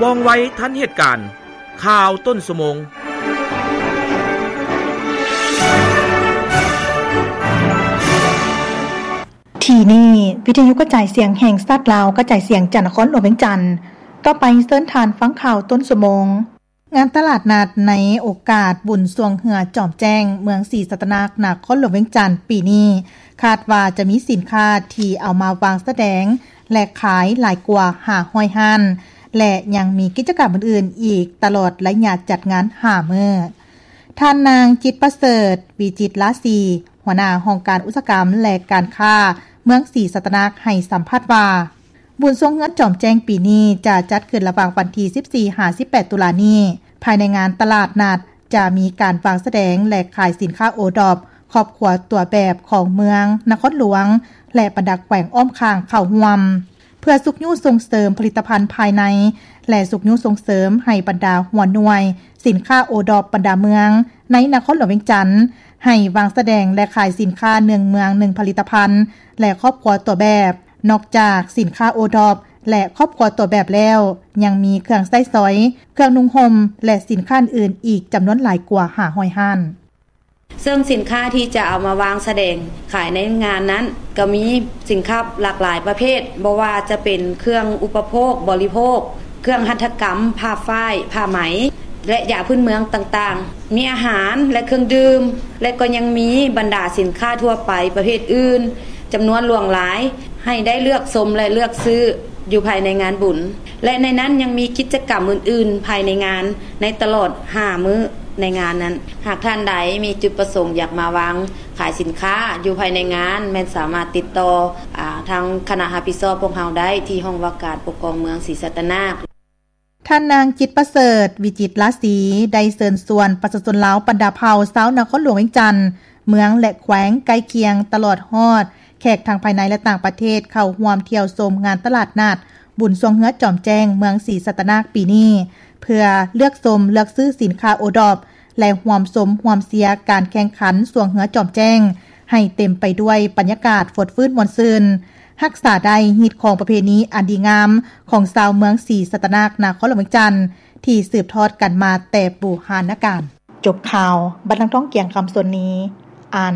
ວ່ອງໄວທັນເຫດການ. ຂ່າວຕົ້ນຊົ່ວໂມງ. ທີ່ນີ້ ວິທະຍຸກະຈາຍສຽງແຫ່ງຊາດລາວ ກະຈາຍສຽງຈາກນະຄອນຫຼວງວຽງຈັນ. ຕໍ່ໄປເຊີນທ່ານຟັງຂ່າວຕົ້ນຊົ່ວໂມງ. ງານຕະຫຼາດນັດໃນໂອກາດບຸນຊ່ວງເຮືອຈອມແຈ້ງ ເມືອງສີສັດຕະນາກ ນະຄອນຫຼວງວຽງຈັນ ປີນີ້ ຄາດວ່າຈະມີສິນຄ້າທີ່ເອົາມາວາງສະແດງ ແລະ ຂາຍຫຼາຍກວ່າຫ້າຮ້ອຍຮ້ານ ແລະ ຍັງມີກິດຈະກຳອື່ນໆອີກ ຕະຫຼອດໄລຍະຈັດງານຫ້າມື້. ທ່ານນາງ ຈິດປະເສີດ ວິຈິດລາສີ ຫົວໜ້າຫ້ອງການອຸດສາຫະກຳ ແລະ ການຄ້າ ເມືອງສີສັດຕະນາກ ໃຫ້ສຳພາດວ່າ ບຸນຊ່ວງເຮືອຈອມແຈ້ງປີນີ້ຈະຈັດຂຶ້ນລະຫວ່າງວັນທີສິບສີ່ ຫາ ສິບແປດ ຕຸລານີ້. ພາຍໃນງານຕະຫຼາດນັດຈະມີການວາງສະແດງ ແລະ ຂາຍສິນຄ້າໂອດອບ ຄອບຄົວຕົວແບບຂອງເມືອງ, ນະຄອນຫຼວງ ແລະ ບັນດາແຂວງອ້ອມຂ້າງເຂົ້າຮ່ວມ ເພື່ອຊຸກຍູ້ສົ່ງເສີມຜະລິດຕະພັນພາຍໃນ ແລະ ຊຸກຍູ້ສົ່ງເສີມໃຫ້ບັນດາຫົວໜ່ວຍສິນຄ້າໂອດອບບັນດາເມືອງໃນນະຄອນຫຼວງວຽງຈັນ ໃຫ້ວາງສະແດງ ແລະ ຂາຍສິນຄ້າໜຶ່ງເມືອງໜຶ່ງຜະລິດຕະພັນ ແລະ ຄອບຄົວຕົວແບບ. ນອກຈາກສິນຄ້າໂອດອບ ແລະ ຄອບຄົວຕົວແບບແລ້ວ, ຍັງມີເຄື່ອງໃຊ້ສອຍ, ເຄື່ອງນຸ່ງຫົ່ມ ແລະ ສິນຄ້າອື່ນໆອີກຈຳນວນຫຼາຍກວ່າຫ້າຮ້ອຍຮ້ານ. ເຊິ່ງສິນຄ້າທີ່ຈະເອົາມາວາງສະແດງຂາຍໃນງານນັ້ນ ກໍມີສິນຄ້າຫຼາກຫຼາຍປະເພດ, ບໍ່ວ່າຈະເປັນເຄື່ອງອຸປະໂພກບໍລິໂພກ, ເຄື່ອງຫັດຖະກຳ, ຜ້າຝ້າຍ, ຜ້າໄໝ ແລະ ຢາພື້ນເມືອງຕ່າງໆ, ມີອາຫານ ແລະ ເຄື່ອງດື່ມ ແລະ ກໍຍັງມີບັນດາສິນຄ້າທົ່ວໄປປະເພດອື່ນ ຈຳນວນຫຼວງຫຼາຍ ໃຫ້ໄດ້ເລືອກຊົມ ແລະ ເລືອກຊື້ຢູ່ພາຍໃນງານບຸນ ແລະ ໃນນັ້ນຍັງມີກິດຈະກຳອື່ນໆພາຍໃນງານ ໃນຕະຫຼອດຫ້າມື້ໃນງານນັ້ນ. ຫາກທ່ານໃດມີຈຸດປະສົງຢາກມາວາງຂາຍສິນຄ້າຢູ່ພາຍໃນງານ ແມ່ນສາມາດຕິດຕໍ່ ອາ ທາງຄະນະຮັບຜິດຊອບພວກເຮົາໄດ້ທີ່ຫ້ອງວ່າການປົກຄອງເມືອງສີສັດຕະນາກ. ທ່ານນາງ ຈິດປະເສີດ ວິຈິດລາສີ ໄດ້ເຊີນຊວນປະຊາຊົນລາວບັນດາເຜົ່າຊາວນະຄອນຫຼວງວຽງຈັນ, ເມືອງ ແລະ ແຂວງໃກ້ຄຽງ ຕະຫຼອດຮອດແຂກທັງພາຍໃນ ແລະ ຕ່າງປະເທດ ເຂົ້າຮ່ວມທ່ຽວຊົມງານຕະຫຼາດນັດບຸນຊ່ວງເຮືອຈອມແຈ້ງເມືອງສີສັດຕະນາກປີນີ້ ເພື່ອເລືອກຊົມເລືອກຊື້ສິນຄ້າໂອດອບ ແລະ ຮ່ວມຊົມຮ່ວມເຊຍການແຂ່ງຂັນຊ່ວງເຮືອຈອມແຈ້ງ ໃຫ້ເຕັມໄປດ້ວຍບັນຍາກາດຟົດຟື້ນມ່ວນຊື່ນ, ຮັກສາໄດ້ຮີດຄອງປະເພນີອັນດີງາມຂອງຊາວເມືອງສີສັດຕະນາກ ນະຄອນຫຼວງວຽງຈັນ ທີ່ສືບທອດກັນມາແຕ່ບູຮານນະການ. ຈົບຂ່າວ, ບັດນາງ ທອງກຽງ ຄຳສົນນີ ອ່ານ.